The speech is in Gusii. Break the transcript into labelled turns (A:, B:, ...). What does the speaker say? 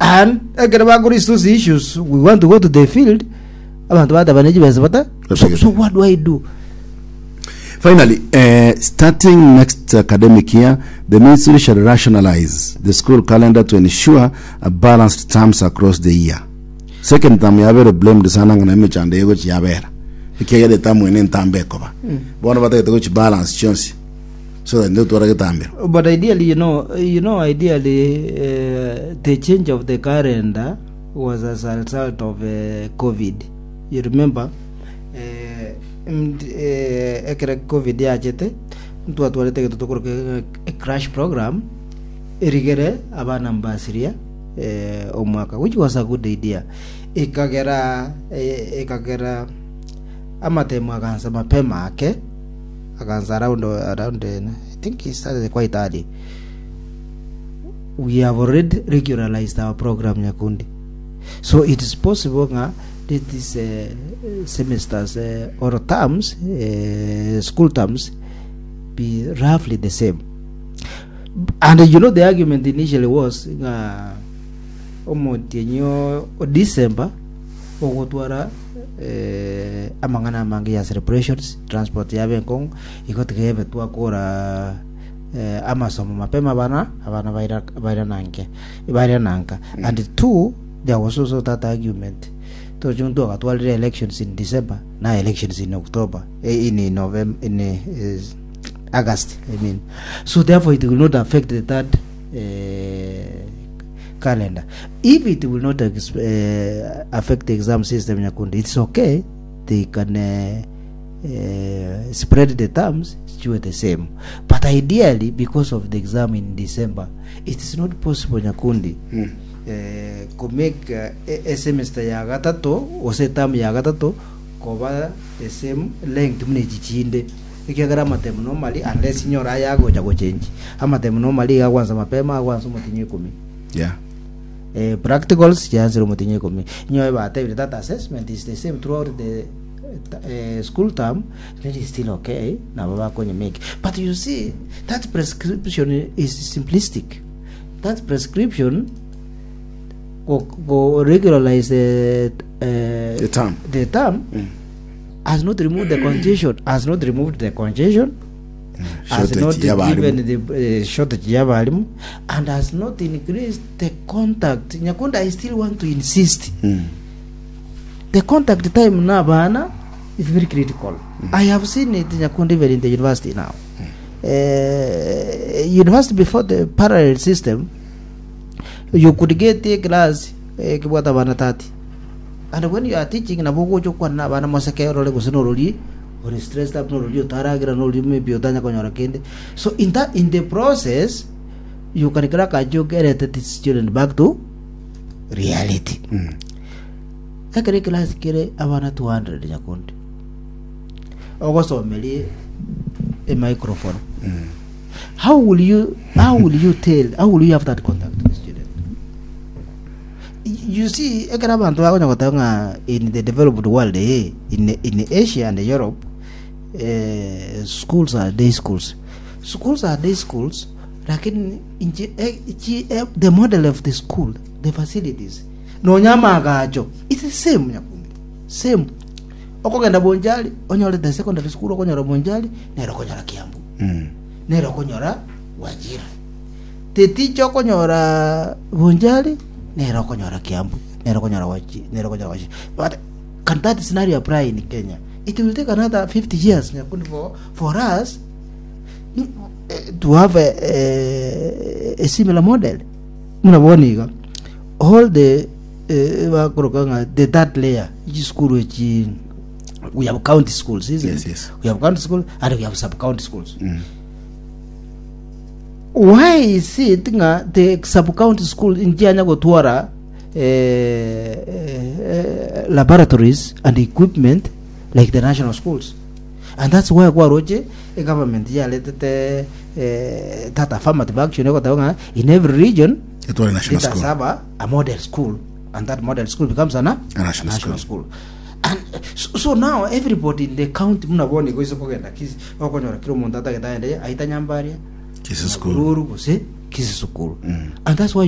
A: And ekero bakora those issues, we want to go to the field, abanto bateba ne chibesa bata. So what do I do?
B: Finally, starting next academic year, the ministry shall rationalize the school calendar to ensure a balanced terms across the year. Second term yabere blamed sana ng'a na emechando egochi yabera. Ekiagera etamu ene entambe ekoba. Bono batagete gochi balance chionsi so that ndotwara getambero.
A: But ideally, ideally, the change of the calendar was as a result of COVID. You remember, ekero Covid yachete, ntwatwarete egento tokoroka a crash program, erigere abana mbasiria omwaka, which was a good idea. Ekagera ekagera amatemo agansa mapema ake, agansa around I think it started quite early. We have already regularized our program Nyakundi. So it is possible ng'a let these semesters or terms, school terms be roughly the same. And you know the argument initially was ng'a omotienyi o o December ogotwara eh, amang'ana amange ya celebrations, transport yabe enkong'u, igo tiga ebe twakora eh, amasomo mapema abana abana baira bairananke bairananka. And two, there was also that argument toche ntwagatwarire elections in December na elections in October eh, in November in eh, August I mean so therefore it will not affect the third eh, calendar if it will not eh, affect the exam system nyakundi it's okay they can eh, eh, spread the terms chiwe the same but ideally because of the exam in December it is not possible nyakundi mm. eh, ko make eh, e semester ya gatato gose term ya gatato koba the same length buna echi chinde ekiagera amatemu normally unless inyore aya agocha gochenji amatemu normally iga agwansa mapema agwansa omotinyi ikomi eh, practicals chiansire omotinyi ikomi inyoe batebire that assessment is the same throughout the eh, school term then it's still okay nabo bakonye make but you see that prescription is simplistic that prescription go, go regularize the,
B: The term.
A: the term has not removed the congestion has not removed the congestion has
B: Shortage
A: not
B: y'abarimu.
A: given the shortage y'abarimu and has not increased the contact nyakunda i still want to insist the contact time na abana is very critical i have seen it nyakundi even in the university now university before the parallel system you could get a class ekebwata abana 30 and when you are teaching nabo ogocha okwana na abana moseke orore gose norori ore stressed up norori otaragira norori maybe otanya konyora kende so in that in the process you can crack a joke erete this student back to reality Ekero ekelasi kere abana 200 nyakundi, ogosomeria emicrophone, how will you how will you tell how will you have that contact with the student? You see, ekero abanto bakonya goteba ng'a in the developed world eh, in Asia and Europe eh, schools are day schools. Schools are day schools, lakini inche eh, chi, eh, the model of the school, the facilities Nonya amaagacho it's the same nyakundi same okogenda Bonchari onyore the secondary school okonyora Bonchari nere okonyora Kiambu nere okonyora Wajir the teacher okonyora Bonchari nere okonyora Kiambu nere okonyora Waji nere okonyora Wajir but can that scenario apply in Kenya it will take another 50 years nyakundi for us to have a similar model buna bono iga All the eh, bakoroka ng'a the third layer chisukuru echi we have county schools isn't
B: Yes,
A: it?
B: yes.
A: we have county school and we have sub county schools why is it ng'a the sub county school nchianya gotwara eh, eh, laboratories and equipment like the national schools and that's why kwaroche egovernment yaretete eh, that affirmative action egoteba ng'a in every region
B: Etware national
A: let us
B: school.
A: have a model school and that model school becomes an, a
B: national
A: school. And so now everybody in the county muna bono igo ise kogenda kisi okonyora kila omonto atagete aende aita nyambaria
B: Kisii school.
A: Nyahururu gose Kisii school and that's why